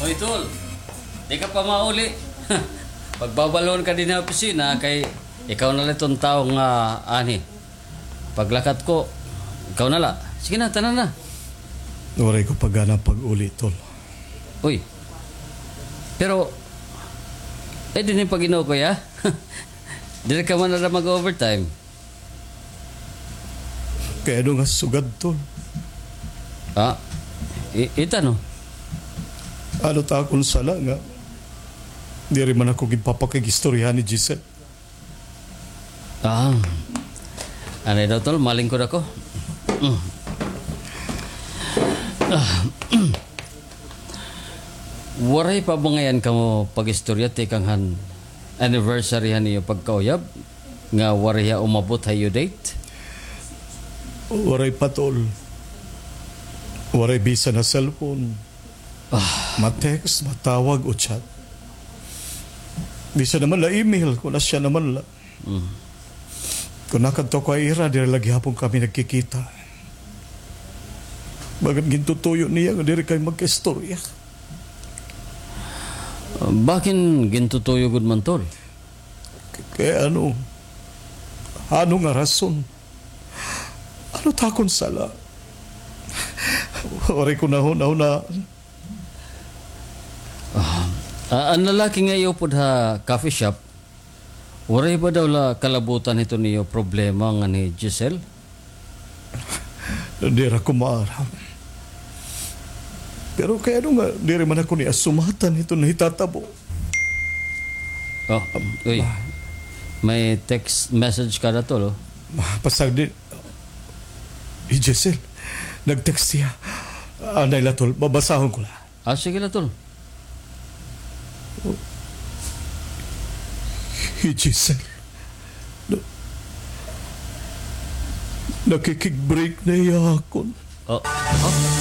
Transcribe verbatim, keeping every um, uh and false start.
Oy, tol. Di ka pa mauli. Pagbabalon ka dinhi ha opisina kay ikaw na la iton tawo nga anhi. Paglakat ko, ikaw na la. Sige na, tana na. Waray ko pa gana pag-uli, tol. Uy. Pero, eh, dinhi pag-inukoy, ha? Diri ka man na mag-overtime. Kay ano nga sugad, tol? Ah, i-, ita, no? Ano ta akon sala nga diri man ako ginpapakig-istoryahan ni Giselle? Ah. Anay daw, tol, malingkod ako. Mm. Ah. Waray pa ba ngay-an kamo pag-istorya tikang han anniversary han iyo pagkauyab nga waray hiya umabot ha iyo date? Waray pa, tol. Waray bisan ha cellphone. Ah. Ma-text, matawag o chat. Bisan naman la email, kon asya naman la. Mm. Kon nakadto ako ha ira, diri la gihapon kami nagkikita. Bagan gintutuyo niya nga diri kami magkaistorya. Ah, bakin gintutuyo gud man, tol? K-, kay ano? Ano nga rason? Ano ta akon sala? Waray ko nahunahunaan. Ah, ah, an lalaki nga iyo upod ha coffee shop, waray ba daw la kalabutan hiton iyo problema ngan hi Giselle? Diri ako maaram. Pero kay ano nga diri man ako niya sumatan hiton nahitatabo? Oh, uy. Ah. May text message ka na, tol, oh. Ah, pasagdi. Hi Giselle, nag-text hiya. Anay la, tol, babasahon ko la. Ah, sige la, tol. Hi Giselle. Na-, nakikig-break na hiya ha akon. Oh, oh.